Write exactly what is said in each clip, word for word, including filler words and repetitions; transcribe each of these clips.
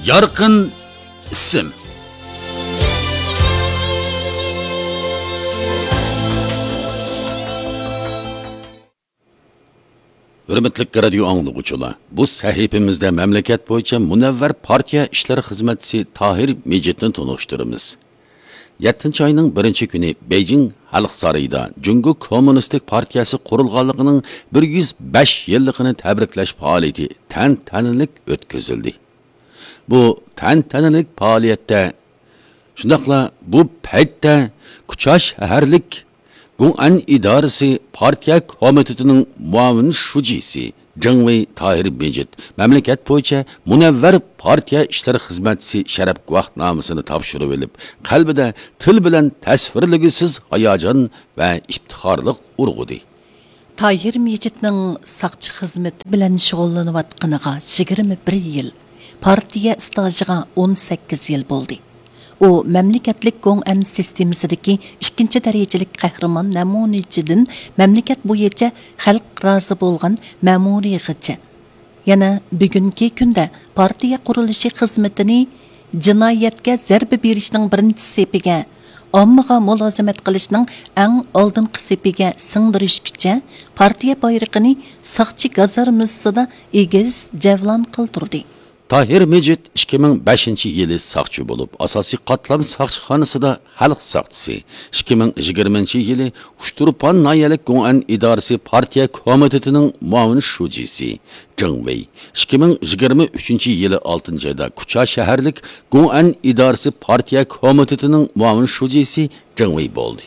يارقىن ئىسىم. ھۆرمەتلىك رادىيو ئاڭلىغۇچىلار، بۇ سەھىپىمىزدە مەملىكەت بويىچە مۇنەۋۋەر پارتىيە ئىشلىرى خىزمەتچىسى تاھىر مىجىتنى تونۇشتۇرىمىز. يەتتىنچى ئاينىڭ بىرىنچى كۈنى بېيجىڭ خەلق سارىيىدا جۇڭگو كوممۇنىستىك پارتىيەسى قۇرۇلغانلىقىنىڭ بىر يۈز بەش يىللىقىنى تەبرىكلەش پائالىيىتى تەنتەنىلىك ئۆتكۈزۈلدى. بۇ تەنتەنىلىك پائالىيەتتە، شۇنداقلا بۇ پەيتتە كۇچا شەھەرلىك گۇڭئەن ئىدارىسى پارتىيە كومىتېتىنىڭ مۇئاۋىن شۇجىسى جېڭ ۋېي تاھىر مىجىت مەملىكەت بويىچە مۇنەۋۋەر پارتىيە ئىشلىرى خىزمەتچىسى شەرەپ گۇۋاھنامىسىنى تاپشۇرۇۋېلىپ، قەلبىدە تىل بىلەن تەسۋىرلىگۈسىز ھاياجان ۋە ئىپتىخارلىق ئۇرغۇدى. تاھىر مىجىتنىڭ ساقچى خىزمىتى بىلەن شۇغۇللىنىۋاتقىنىغا يىگىرمە بىر يىل، پارتىيە ئىستاژىغا ئون سەككىز يىل بولدى. ئۇ مەملىكەتلىك گوڭئەن سىستېمىسىدىكى ئىككىنچى دەرىجىلىك قەھرىمان نەمۇنىچىدىن مەملىكەت بويىچە خەلق رازى بولغان مەمۇرىيغىچە، يەنە بۈگۈنكى كۈندە پارتىيە قۇرۇلۇشى خىزمىتىنى جىنايەتكە زەربە بېرىشنىڭ بىرىنچى سېپىگە، ئاممىغا مۇلازىمەت قىلىشنىڭ ئەڭ ئالدىنقى سېپىگە سىڭدۈرۈشكىچە پارتىيە بايرىقىنى ساقچى گازارمىسىدا ئېگىز جەۋلان قىلدۇردى. تاھىر مىجىت ئىككى مىڭ بەشىنچى يىلى ساقچى بولۇپ، ئاساسىي قاتلام ساقچىخانىسىدا خەلق ساقچىسى، ئىككى مىڭ يىگىرمىنچى يىلى ئۇچتۇرپان ناھىيەلىك گوڭئەن ئىدارىسى پارتىيە كومىتېتىنىڭ مۇئاۋىن شۇجىسى جېڭ ۋېي، ئىككى مىڭ يىگىرمە ئۈچىنچى يىلى ئالتىنچى ئايدا كۇچا شەھەرلىك گوڭئەن ئىدارىسى پارتىيە كومىتېتىنىڭ مۇئاۋىن شۇجىسى جېڭ ۋېي بولدى.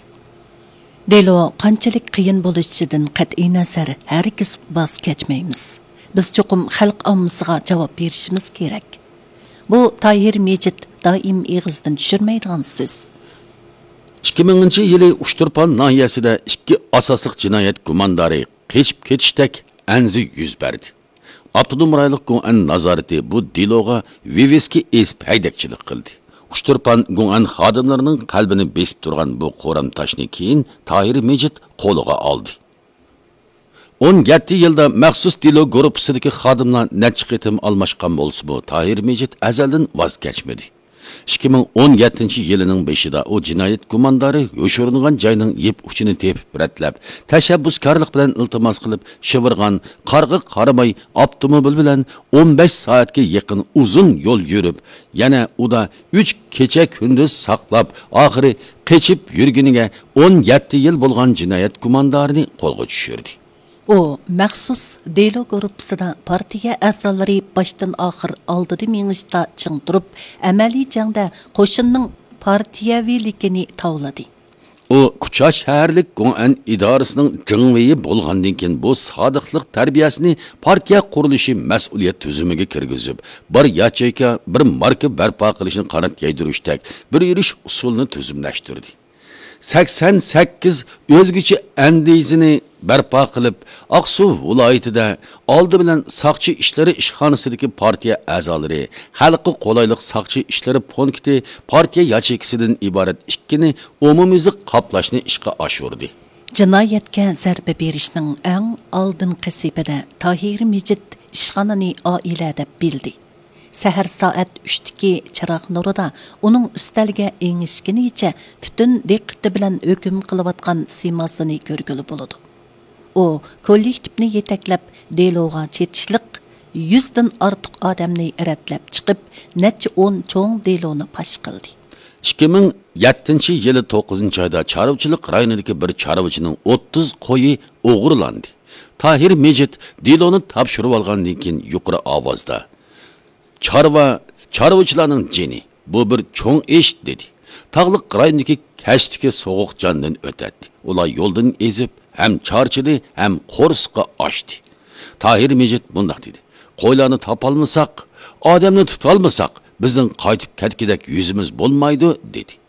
دېلو قانچىلىك قىيىن بولۇشىدىن قەتئىينەزەر، ھەرگىز ۋاز كەچمەيمىز. بىز چوقۇم خەلق ئاممىسىغا جاۋاب بېرىشىمىز كېرەك. بۇ تاھىر مىجىت دائىم ئېغىزدىن چۈشۈرمەيدىغان سۆز. ئىككى مىڭىنچى يىلى ئۇچتۇرپان ناھىيەسىدە ئىككى ئاساسلىق جىنايەت گۇماندارى قېچىپ كېتىشتەك ئەنزە يۈز بەردى. ئاپتونوم رايونلۇق گوڭئەن نازارىتى بۇ دېلوغا ۋىۋىسكا ئېسىپ ھەيدەكچىلىك قىلدى. ئۇچتۇرپان گوڭئەن خادىملىرىنىڭ قەلبىنى بېسىپ تۇرغان بۇ قورام تاشنى كېيىن تاھىر مىجىت قولىغا ئالدى. ئون يەتتە يىلدا مەخسۇس دېلو گۇرۇپپىسىدىكى خادىملار نەچچە قېتىم ئالماشقان بولسىمۇ، تاھىر مىجىت ئەزەلدىن ۋاز كەچمىدى. ئىككى مىڭ ئون يەتتىنچى يىلىنىڭ بېشىدا ئۇ جىنايەت گۇماندارى يوشۇرۇنغان جاينىڭ يىپ ئۇچىنى تېپىپ رەتلەپ، تەشەببۇسكارلىق بىلەن ئىلتىماس قىلىپ شىۋىرغان قارغا قارىماي ئاپتوموبىل بىلەن ئون بەش سائەتكە يېقىن ئۇزۇن يول يۈرۈپ، يەنە ئۇدا ئۈچ كېچە كۈندۈز ساقلاپ، ئاخىرى قېچىپ يۈرگىنىگە ئون يەتتە يىل بولغان جىنايەت گۇماندارىنى قولغا چۈشۈردى. ئۇ مەخسۇس دېلو گۇرۇپپىسىدا پارتىيە ئەزالىرى باشتىن ئاخىر ئالدىدا مېڭىشتا چىڭ تۇرۇپ، ئەمەلىي جەڭدە قوشۇننىڭ پارتىيەۋىلىكىنى تاۋلىدى. ئۇ كۇچا شەھەرلىك گوڭئەن ئىدارىسىنىڭ جېڭ ۋېيى بولغاندىن كېيىن، بۇ سادىقلىق تەربىيەسىنى پارتىيە قۇرۇلۇشى مەسئۇلىيەت تۈزۈمىگە كىرگۈزۈپ، بىر ياچېيكا، بىر ماركا بەرپا قىلىشنى قانات يايدۇرۇشتەك بىر يۈرۈش ئۇسۇلىنى تۈزۈملەشتۈردى. سەكسەن سەككىز ئۆزگىچە ئەندىزىنى بەرپا قىلىپ، ئاقسۇ ۋىلايىتىدە ئالدى بىلەن ساقچى ئىشلىرى ئىشخانىسىدىكى پارتىيە ئەزالىرى، خەلققە قولايلىق ساقچى ئىشلىرى پونكىتى، پارتىيە ياچېيكىسىدىن ئىبارەت ئىككىنى ئومۇميۈزلۈك قاپلاشنى ئىشقا ئاشۇردى. جىنايەتكە زەربە بېرىشنىڭ ئەڭ ئالدىنقى سېپىدە تاھىر مىجىت ئىشخانىنى ئائىلە دەپ بىلدى. سەھەر سائەت ئۈچتىكى چىراغ نۇرىدا ئۇنىڭ ئۈستەلگە ئېڭىشكىنىچە پۈتۈن دىققىتى بىلەن ھۆكۈم قىلىۋاتقان سىيماسىنى كۆرگىلى بولىدۇ. ئۇ كوللېكتىپنى يېتەكلەپ، دېلوغا چېتىشلىق يۈزدىن ئارتۇق ئادەمنى رەتلەپ چىقىپ، نەچچە ئون چوڭ دېلونى پاش قىلدى. ئىككى مىڭ يەتتىنچى يىلى توققۇزىنچى ئايدا چارۋىچىلىق رايونىدىكى بىر چارۋىچىنىڭ ئوتتۇز قويى ئوغرىلاندى. تاھىر مىجىت دېلونى تاپشۇرۇۋالغاندىن كېيىن يۇقىرى ئاۋازدا، «چارۋا، چارۋىچىلارنىڭ جېنى، بۇ بىر چوڭ ئىش» دېدى. تاغلىق رايوندىكى كەچتىكى سوغۇق جاندىن ئۆتەتتى. ئۇلار يولدىن ئېزىپ، ھەم چارچىدى، ھەم قورسىقى ئاچتى. تاھىر مىجىت مۇنداق دېدى: «قويلارنى تاپالمىساق، ئادەمنى تۇتالمىساق، بىزنىڭ قايتىپ كەتكۈدەك يۈزىمىز بولمايدۇ» دېدى.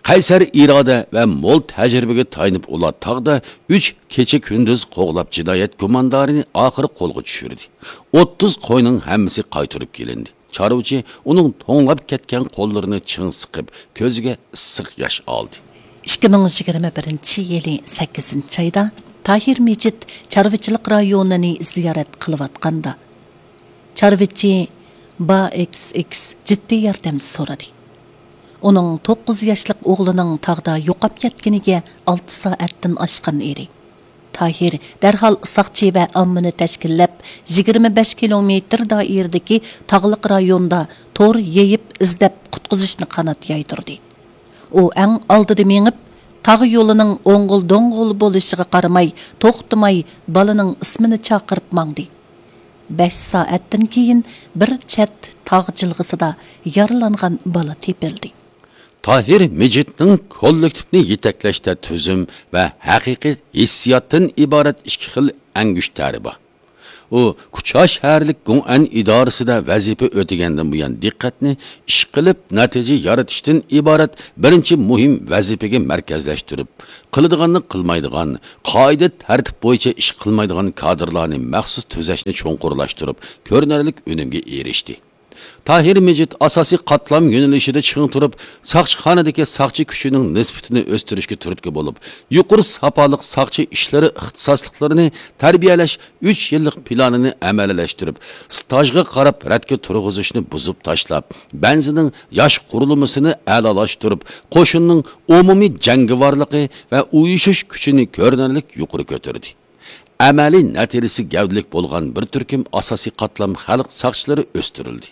قەيسەر ئىرادە ۋە مول تەجرىبىگە تايىنىپ، ئۇلار تاغدا ئۈچ كېچە-كۈندۈز قوغلاپ، جىنايەت گۇماندارىنى ئاخىرى قولغا چۈشۈردى. ئوتتۇز قوينىڭ ھەممىسى قايتۇرۇپ كېلىندى. چارۋىچى ئۇنىڭ توڭلاپ كەتكەن قوللىرىنى چىڭ سىقىپ، كۆزىگە ئىسسىق ياش ئالدى. ئىككى مىڭ يىگىرمە بىرىنچى يىلى سەككىزىنچى ئايدا تاھىر مىجىت چارۋىچىلىق رايونىنى زىيارەت قىلىۋاتقاندا، چارۋىچى با ئېكس ئېكس جىددىي ياردەم سورىدى. ئۇنىڭ توققۇز ياشلىق ئوغلىنىڭ تاغدا يوقاپ كەتكىنىگە ئالتە سائەتتىن ئاشقان ئىدى. تاھىر دەرھال ساقچى ۋە ئاممىنى تەشكىللەپ، يىگىرمە بەش كىلومېتىر دائىرىدىكى تاغلىق رايوندا تور يېيىپ ئىزدەپ قۇتقۇزۇشنى قانات يايدۇردى. ئۇ ئەڭ ئالدىدا مېڭىپ، تاغ يولىنىڭ ئوڭغۇل-دوڭغۇل بولۇشىغا قارىماي، توختىماي بالىنىڭ ئىسمىنى چاقىرىپ ماڭدى. بەش سائەتتىن كېيىن بىر چەت تاغ جىلغىسىدا يارىلانغان بالا تېپىلدى. تاھىر مىجىتنىڭ كوللېكتىپنى يېتەكلەشتە تۈزۈم ۋە ھەقىقىي ھېسسىياتتىن ئىبارەت ئىككى خىل ئەڭگۈشتەرى بار. ئۇ كۇچا شەھەرلىك گۇڭئەن ئىدارىسىدە ۋەزىپە ئۆتىگەندىن بۇيان دىققەتنى ئىشقىلىپ نەتىجە يارىتىشتىن ئىبارەت بىرىنچى مۇھىم ۋەزىپىگە مەركەزلەشتۈرۈپ، قىلىدىغاننى قىلمايدىغان، قائىدە تەرتىپ بويىچە ئىش قىلمايدىغان كادىرلارنى مەخسۇس تۈزەشنى چوڭقۇرلاشتۇرۇپ، كۆرۈنەرلىك ئۈنۈمگە ئېرىشتى. تاھىر مىجىت ئاساسىي قاتلام يۆنىلىشىدە چىڭ تۇرۇپ، ساقچىخانىدىكى ساقچى كۈچىنىڭ نىسبىتىنى ئۆستۈرۈشكە تۈرتكە بولۇپ، يۇقىرى ساپالىق ساقچى ئىشلىرى ئىختىساسلىقلىرىنى تەربىيەلەش ئۈچ يىللىق پىلانىنى ئەمەلىيلەشتۈرۈپ، سىتاژغا قاراپ رەتكە تۇرغۇزۇشنى بۇزۇپ تاشلاپ، بەنزىنىڭ ياش قۇرۇلمىسىنى ئەلالاشتۇرۇپ، قوشۇننىڭ ئومۇمىي جەڭگىۋارلىقى ۋە ئۇيۇشۇش كۈچىنى كۆرۈنەرلىك يۇقىرى كۆتۈردى. ئەمەلىي نەتىجىسى گەۋدىلىك بولغان بىر تۈركۈم ئاساسىي قاتلام خەلق ساقچىلىرى ئۆستۈرۈلدى.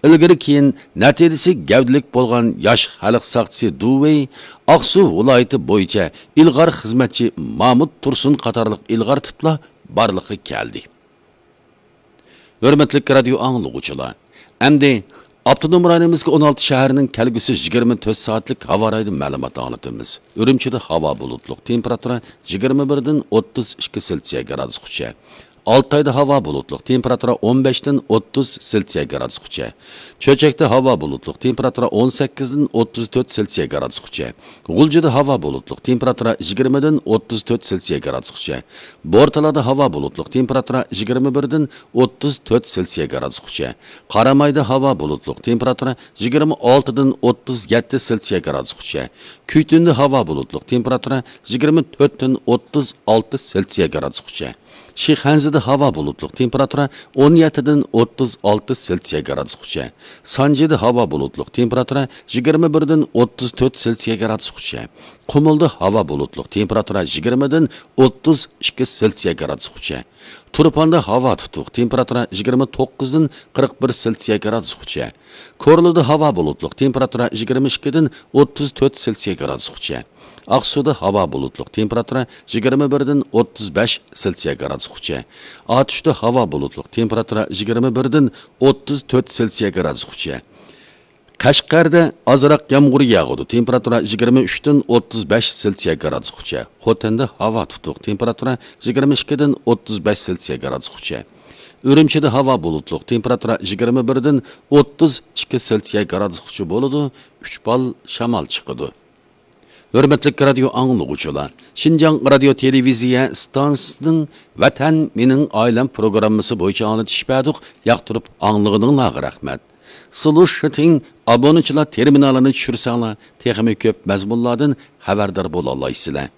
ئىلگىرى كېيىن نەتىجىسى گەۋدىلىك بولغان ياش خەلق ساقچىسى دۇۋېي، ئاقسۇ ۋىلايىتى بويىچە ئىلغار خىزمەتچى مامۇت تۇرسۇن قاتارلىق ئىلغار تىپلار بارلىققا كەلدى. ھۆرمەتلىك رادىيو ئاڭلىغۇچىلار، ئەمدى ئاپتونوم رايونىمىزغا ئون ئالتە شەھەرنىڭ كەلگۈسى يىگىرمە تۆت سائەتلىك ھاۋا رايىدىن مەلۇمات ئاڭلىتىمىز. ئۈرۈمچىدە ھاۋا بۇلۇتلۇق، تېمپېراتۇرا يىگىرمە بىردىن ئوتتۇز ئىككى سېلسىيە گرادۇسقىچە. ئالتايدا ھاۋا بۇلۇتلۇق، تېمپېراتۇرا ئون بەشتىن ئوتتۇز سېلسىيە گرادۇسقىچە. چۆچەكتە ھاۋا بۇلۇتلۇق، تېمپېراتۇرا ئون سەككىزدىن ئوتتۇز تۆت سېلسىيە گرادۇسقىچە. غۇلجىدا ھاۋا بۇلۇتلۇق، تېمپېراتۇرا يىگىرمىدىن ئوتتۇز تۆت سېلسىيە گرادۇسقىچە. بورتالادا ھاۋا بۇلۇتلۇق، تېمپېراتۇرا يىگىرمە بىردىن ئوتتۇز تۆت سېلسىيە گرادۇسقىچە. قارامايدا ھاۋا بۇلۇتلۇق، تېمپېراتۇرا يىگىرمە ئالتىدىن ئوتتۇز يەتتە سېلسىيە گرادۇسقىچە. كۈيتۈندە ھاۋا بۇلۇتلۇق، تېمپېراتۇرا يىگىرمە تۆتتىن ئوتتۇز ئالتە سېلسىيە گرادۇسقىچە. شىخەنزىدە ھاۋا بۇلۇتلۇق، تېمپېراتۇرا ئون يەتتىدىن ئوتتۇز ئالتە سېلسىيە گرادۇسقىچە. سانجىدا ھاۋا بۇلۇتلۇق، تېمپېراتۇرا يىگىرمە بىردىن ئوتتۇز تۆت سېلسىيە گرادۇسقىچە. قۇمۇلدا ھاۋا بۇلۇتلۇق، تېمپېراتۇرا يىگىرمىدىن ئوتتۇز ئىككى سېلسىيە گرادۇسقىچە. تۇرپاندا ھاۋا تۇتۇق، تېمپېراتۇرا يىگىرمە توققۇزدىن قىرىق بىر سېلسىيە گرادۇسقىچە. كورلىدا ھاۋا بۇلۇتلۇق، تېمپېراتۇرا يىگىرمە ئىككىدىن ئوتتۇز تۆت سېلسىيە گرادۇسقىچە. ئاقسۇدا ھاۋا بۇلۇتلۇق، تېمپېراتۇرا يىگىرمە بىردىن ئوتتۇز بەش سېلسىيە گرادۇسقىچە. ئاتۇشتا ھاۋا بۇلۇتلۇق، تېمپېراتۇرا يىگىرمە بىردىن ئوتتۇز تۆت سېلسىيە گرادۇسقىچە. قەشقەردە ئازراق يامغۇر ياغىدۇ، تېمپېراتۇرا يىگىرمە ئۈچتىن ئوتتۇز بەش سېلسىيە گرادۇسقىچە. خوتەندە ھاۋا تۇتۇق، تېمپېراتۇرا يىگىرمە ئىككىدىن ئوتتۇز بەش سېلسىيە گرادۇسقىچە. ئۈرۈمچىدە ھاۋا بۇلۇتلۇق، تېمپېراتۇرا يىگىرمە بىردىن ئوتتۇز ئىككى سېلسىيە گرادۇسقىچە بولىدۇ، ئۈچ بال شامال چىقىدۇ. ھۆرمەتلىك رادىيو ئاڭلىغۇچىلار، شىنجاڭ رادىيو تېلېۋىزىيە ئىستانسىسىنىڭ ۋەتەن مېنىڭ ئائىلەم پروگراممىسى بويىچە ئاڭلىتىش بەردۇق، ياقتۇرۇپ ئاڭلىغىنىڭلارغا رەھمەت. سلۇشىتىڭ ئابۇنىچىلار تېرمىنالىنى چۈشۈرسەڭلار، تېخىمۇ كۆپ مەزمۇنلاردىن خەۋەردار بولالايسىلەر.